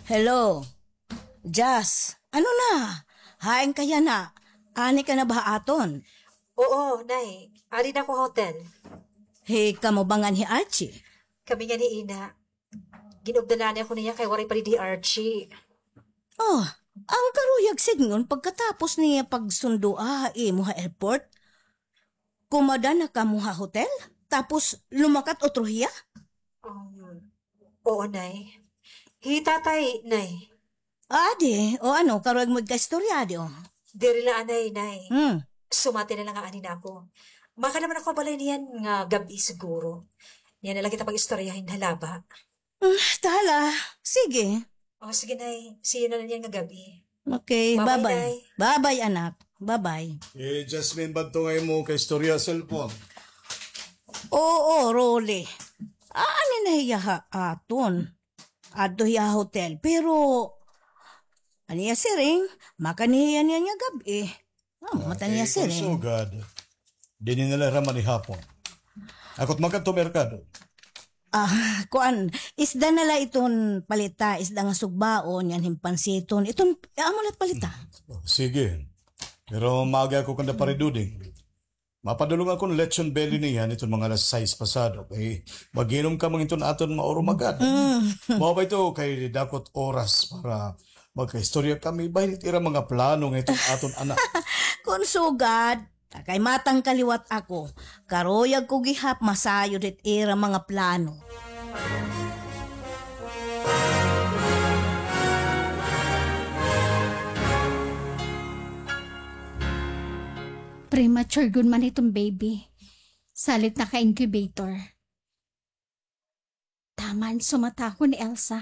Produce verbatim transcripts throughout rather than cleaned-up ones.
Hello. Jazz, ano na? Hain ka yana? Ani ka na ba ha aton? Oo, Nay. Adi na ako ha hotel. Hi, kamo ba ngan hi Archie? Kami ngan hi Ina. Ginupdan la ako niya kay waray pa didi hi Archie. Oh, an karuyag sidngon pagkatapos niya pagsundoa ha imo ha airport? Kumada na kamo ha hotel? Tapos lumakat utro hiya? Um, Oo, Nay. Hi Tatay, Nay. Ah, adi. O ano, karuyag mo igkaistorya, adi, o. Diri la anay, Nay. Hmm. Sumati na la nga ani na ako. Makada man ako ha balay niyan nga gab-i siguro. Niyan na la kita pag-istoryahin ha laba. Hmm, ta hala. Sige. O, sige, Nay. See you na la niyan nga gab-i. Okay, bye-bye, bye-bye. Nay. Bye-bye, anak. Bye-bye. Eh, Jasmine, ba adto nga imo kaistorya ha cellphone? Oo, Rolly. Ani na hiya ha aton. Adto hiya ha hotel. Pero, an iya siring, makada hiya niyan nga gab-i. Ah, mata niya siring. Kay kon sugad, dinhi na la hira manihapon. Ako it makadto ha merkado. Ah, kuan, isda na la iton palita, isda nga sugbaon, ngan hin pansiton. Iton, amo la it palita. Sige. Pero maaga ako kanda Pare Duding. Mapadulong ako hin lechon belly niyan iton mga alas sais pasado. Kay mag-inom kami iton aton maurumagad. Mm. Mao ba ito kay dako it oras para magkaistorya kami bahin it ira mga plano nga iton aton anak. Kon sugad, kay matangka liwat ako. Karuyag ko gihap masayod it ira mga plano. Premature gud man iton baby. Salit naka-incubator. Taman sumata ako ni Elsa,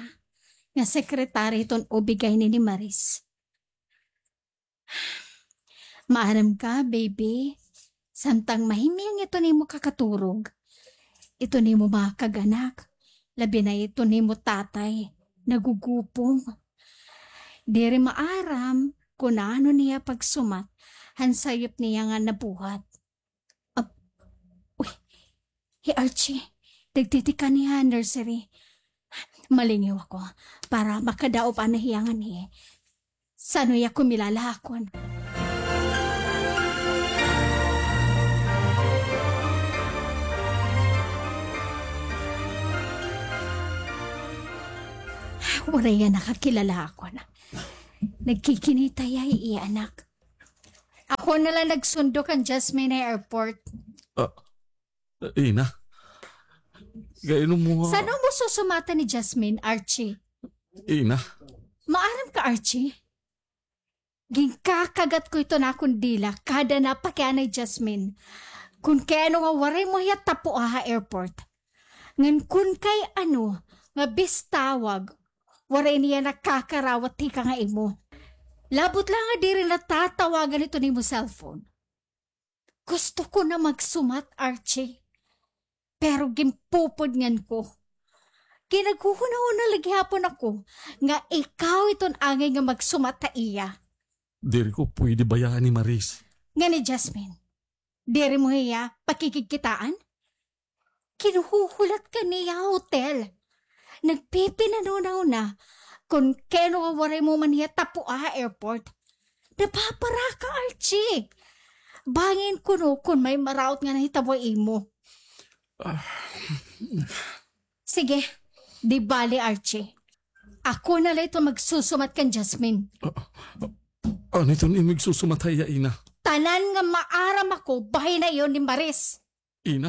nga sekretarya iton O B-gyne ni Maris. Maaram ka, baby, samtang mahimyang iton imo kakaturog, iton imo mga kag-anak, labi na iton imo tatay, nagugupong. Diri maaram kon ano niya pagsumat han sayop niya nga nabuhat. Ab-, uy, hi Archie, nagtitikang hiya ha nursery. Malingaw ako para makadaop anay hiya nganhi. San-o hiya kumilala ha akon? Waray hiya nakakilala ha akon. Nagkikinita hiya ha iya anak. Ako na la nagsundo kan Jasmine ha airport. Ah, Ina. Kay ano mo ha? San-o mo susumatan ni Jasmine, Archie? Ina. Maaram ka, Archie? Ginkakagat ko iton akon dila kada napakiana hi Jasmine. Kon kay ano nga waray mo hiya tapua ha airport. Ngan kon kay ano nga bistawag, waray niya nakakarawat tikang ha imo. Labot la nga diri natatawagan iton imo cellphone. Gusto ko na magsumat, Archie. Pero ginpupudngan ko. Kay naghuhunahuna la gihapon ako nga ikaw iton angay nga magsumat ha iya. Diri ko pwede bayaan ni Maris. Ngan hi Jasmine, diri mo hiya pakikigkitaan? Ginhuhulat ka niya ha hotel. Nagpipinanunahuna kon kay ano nga waray mo man hiya tapua ha airport. Napaparaka, Archie. Bangin kuno kon may maraot nga nahitabo ha imo. Ah. Sige, di bali, Archie. Ako na la iton magsusumat kan Jasmine. Ah, ah, ano iton imo igsusumat ha iya, Ina? Tanan nga maaram ako, bahin na iyon ni Maris. Ina.